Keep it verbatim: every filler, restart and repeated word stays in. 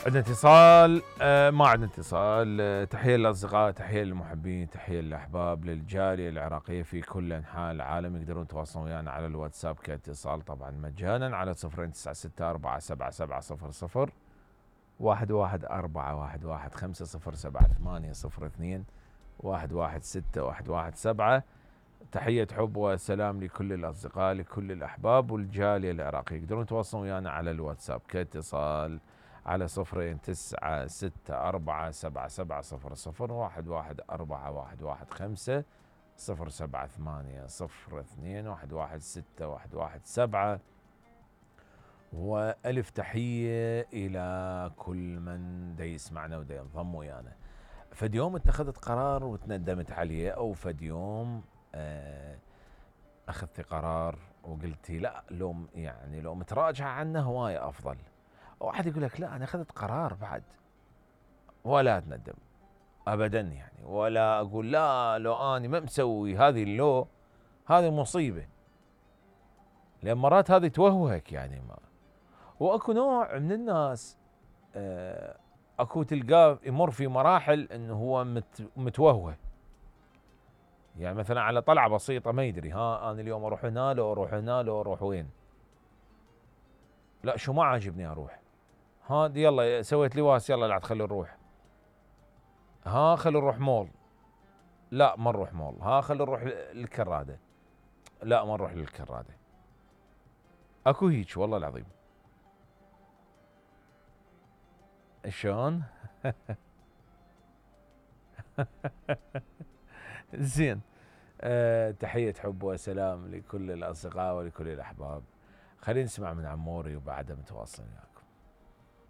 عندنا اتصال. آه ما عندنا اتصال. آه تحية للأصدقاء، تحية للمحبين، تحية للأحباب، للجالية العراقية في كل أنحاء العالم. يقدرون يتواصلون ويانا على الواتساب كاتصال طبعا مجانا على صفرين تسعة ستة أربعة سبعة سبعة صفر صفر واحد واحد أربعة واحد واحد خمسة صفر سبعة ثمانية صفر اثنين واحد واحد ستة واحد واحد سبعة. تحية حب وسلام لكل الأصدقاء، لكل الأحباب والجالية العراقية. يقدرون يتواصلون ويانا على الواتساب كاتصال على صفرين تسعة ستة أربعة سبعة سبعة صفر صفر واحد واحد أربعة واحد واحد خمسة صفر سبعة ثمانية صفر اثنين واحد واحد ستة واحد واحد سبعة. وألف تحية إلى كل من دا يسمعنا ودا ينضم ويانا. فد يوم اتخذت قرار وتندمت عليه، أو فد يوم آه أخذت قرار وقلتي لا، لو يعني لو متراجعة عنه هواية أفضل. واحد يقول لك لا أنا أخذت قرار بعد ولا أتندم أبدا يعني، ولا أقول لا لو أنا ما مسوي هذه، اللو هذه مصيبة، لأن مرات هذه توهوك يعني. ما وأكو نوع من الناس آه أكو تلقاه يمر في مراحل أنه هو مت متوهوه، يعني مثلا على طلعة بسيطة ما يدري ها أنا اليوم أروح هنا لو أروح هنا لو أروح وين، لا شو ما عاجبني أروح، ها يلا سويت لواس يلا لا تخلي نروح، ها خلي نروح مول، لا ما نروح مول، ها خلي نروح للكرادة، لا ما نروح للكرادة. اكو هيك والله العظيم. شلون؟ زين. أه تحية حب وسلام لكل الأصدقاء ولكل الأحباب. خلينا نسمع من عموري وبعدها متواصلين.